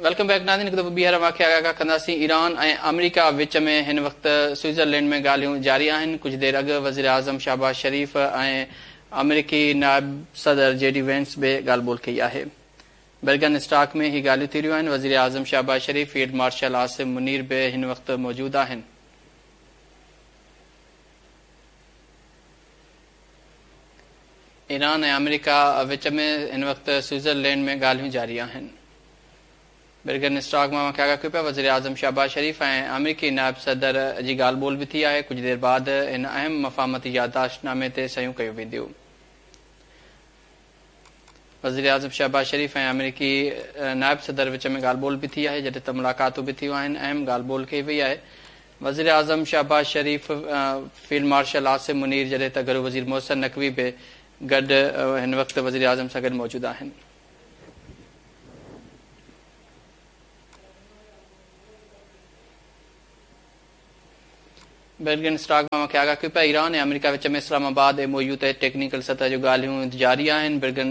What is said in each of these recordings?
Welcome back ناظرين هڪ دفعو ٻيهر اوهان کي آگاهه ڪنداسين ايران ۽ آمريڪا وچ ۾ هن وقت سوئٽزرلينڊ ۾ ڳالهيون جاري آهن ڪجهه دير اڳ وزيراعظم شهباز شريف ۽ آمريڪي نائب صدر جي ڊي وينس به ڳالهه ٻولهه ڪئي آهي برگن اسٽاڪ ۾ هي ڳالهيون ٿي رهيون آهن وزيراعظم شهباز شريف فيلڊ مارشل عاصم منير به هن وقت موجود آهن. ايران ۽ آمريڪا وچ ۾ هن وقت سوئٽزرلينڊ ۾ ڳالهيون جاري آهن. برگن اسٽاڪ مان اوهان کي آگاهه ڪيون پيا وزيراعظم شهباز شريف ۽ آمريڪي نائب صدر جي ڳالهه ٻولهه به ٿي آهي ڪجهه دير بعد هن اهم مفاهمتي يادداشت نامي تي صحيحون ڪيون وينديون. وزيراعظم شهباز شريف ۽ آمريڪي نائب صدر وچ ۾ ڳالهه ٻولهه به ٿي آهي جڏهن ته ملاقاتون به ٿيون آهن اهم ڳالهه ٻولهه ڪئي وئي آهي وزيراعظم شهباز شريف فيلڊ مارشل عاصم منير جڏهن ته گهرو وزير محسن نقوي به گڏ هن وقت وزيراعظم سان گڏ موجود آهن. برگن اسٽاڪ مان کي آگاهه ڪيو پيا ايران ۽ آمريڪا وچ ۾ اسلام آباد ايم او يو تحت ٽيڪنيڪل سطح جون ڳالهيون جاري آهن برگن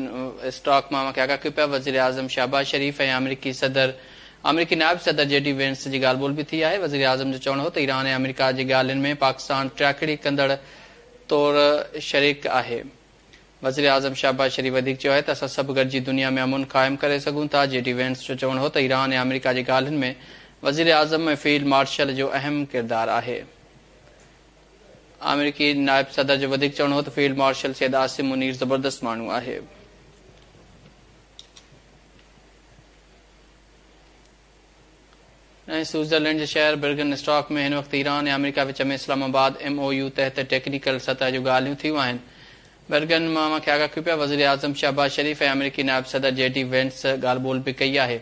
اسٽاڪ مان کي آگاهه ڪيو پيا وزيراعظم شهباز شريف ۽ آمريڪي صدر آمريڪي نائب صدر جي ڊي وينس جي ڳالهه ٻولهه به ٿي آهي وزيراعظم جو چوڻ هو ته ايران ۽ آمريڪا جي ڳالهين ۾ پاڪستان ٽياڪڙي ڪندڙ طور شريڪ آهي وزيراعظم شهباز شريف وڌيڪ چيو آهي ته اسان سڀ گڏجي دنيا ۾ امن قائم ڪري سگهون ٿا، جي ڊي وينس جو چوڻ هو ته ايران ۽ آمريڪا جي ڳالهين ۾ وزيراعظم ۽ فيلڊ مارشل جو اهم ڪردار آهي. آمريڪي نائب صدر جو وڌيڪ چوڻ هو ته فيلڊ مارشل سيد عاصم منير زبردست ماڻهو آهي. ۽ سوئٽزرلينڊ جي شهر برگن اسٽاڪ ۾ هن وقت ايران ۽ آمريڪا وچ ۾ اسلام آباد ايم او يو تحت ٽيڪنيڪل سطح جون ڳالهيون ٿيون آهن. برگن مان اوهان کي آگاهه ڪيون پيا وزيراعظم شهباز شريف ۽ آمريڪي نائب صدر جي ڊي وينس ڳالهه ٻولهه به ڪئي آهي.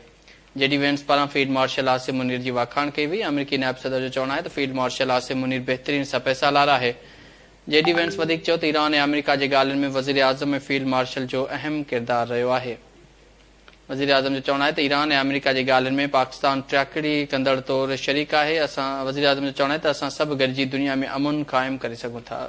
جي ڊي وينس پاران فيلڊ مارشل عاصم منير جي واکاڻ ڪئي وئي. آمريڪي نائب صدر جو چوڻ آهي ته فيلڊ مارشل عاصم منير بهترين سپهه سالار آهي. جي ڊي وينس وڌيڪ چيو ته ايران ۽ آمريڪا جي ڳالهين ۾ وزيراعظم ۽ فيلڊ مارشل جو اهم ڪردار رهيو آهي. وزيراعظم جو چوڻ آهي ته ايران ۽ آمريڪا جي ڳالهين ۾ پاڪستان ٽياڪڙي ڪندڙ طور شريڪ آهي، اسان وزيراعظم جو چوڻ آهي ته اسان سڀ گڏجي دنيا ۾ امن قائم ڪري سگهون ٿا.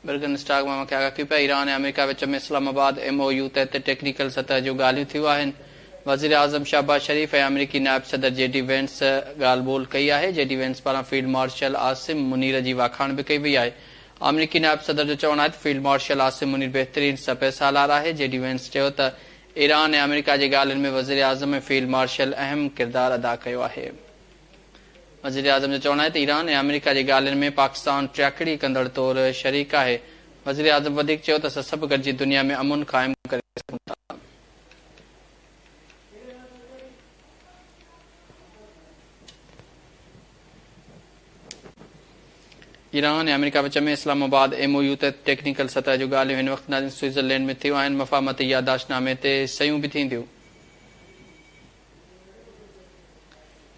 برگن اسٽاڪ مان کي آگاهه ڪيون پيا ايران ۽ آمريڪا وچ ۾ اسلام آباد ايم او يو تحت ٽيڪنيڪل سطح جون ڳالهيون ٿيون آهن وزيراعظم شهباز شريف ۽ آمريڪي نائب صدر جي ڊي وينس ڳالهه ٻولهه ڪئي آهي جي ڊي وينس پاران فيلڊ مارشل عاصم منير جي واکاڻ به ڪئي وئي آهي آمريڪي نائب صدر جو چوڻ آهي ته فيلڊ مارشل عاصم منير بهترين سپهه سالار آهي جي ڊي وينس چيو ته ايران ۽ آمريڪا جي ڳالهين ۾ وزيراعظم ۽ فيلڊ مارشل اهم ڪردار ادا ڪيو آهي. وزيراعظم جو چوڻ آهي ته ايران ۽ آمريڪا جي ڳالهين ۾ پاڪستان ٽياڪڙي ڪندڙ طور شريڪ آهي. وزيراعظم وڌيڪ چيو ته اسان سڀ گڏجي دنيا ۾ امن قائم ڪري سگهون ٿا. ايران ۽ آمريڪا وچ ۾ اسلام آباد ايم او يو تحت ٽيڪنيڪل سطح جون ڳالهيون هن وقت ناظرين سوئٽزرلينڊ ۾ ٿيون آهن، مفاهمتي يادداشت نامي تي صحيحون به ٿينديون.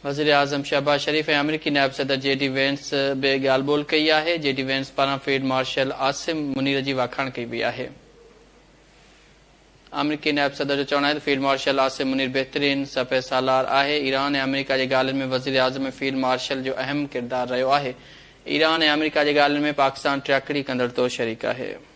وزيراعظم شهباز شريف ۽ آمريڪي نائب صدر جي ڊي وينس به ڳالهه ٻولهه ڪئي آهي، جي ڊي وينس پاران فيلڊ مارشل عاصم منير جي واکاڻ ڪئي وئي آهي. آمريڪي نائب صدر جو چوڻ آهي ته فيلڊ مارشل عاصم منير بهترين سپهه سالار آهي، ايران ۽ آمريڪا جي ڳالهين ۾ وزيراعظم ۽ فيلڊ مارشل جو اهم ڪردار رهيو آهي، ايران ۽ آمريڪا جي ڳالهين ۾ پاڪستان ٽياڪڙي ڪندڙ طور شريڪ آهي.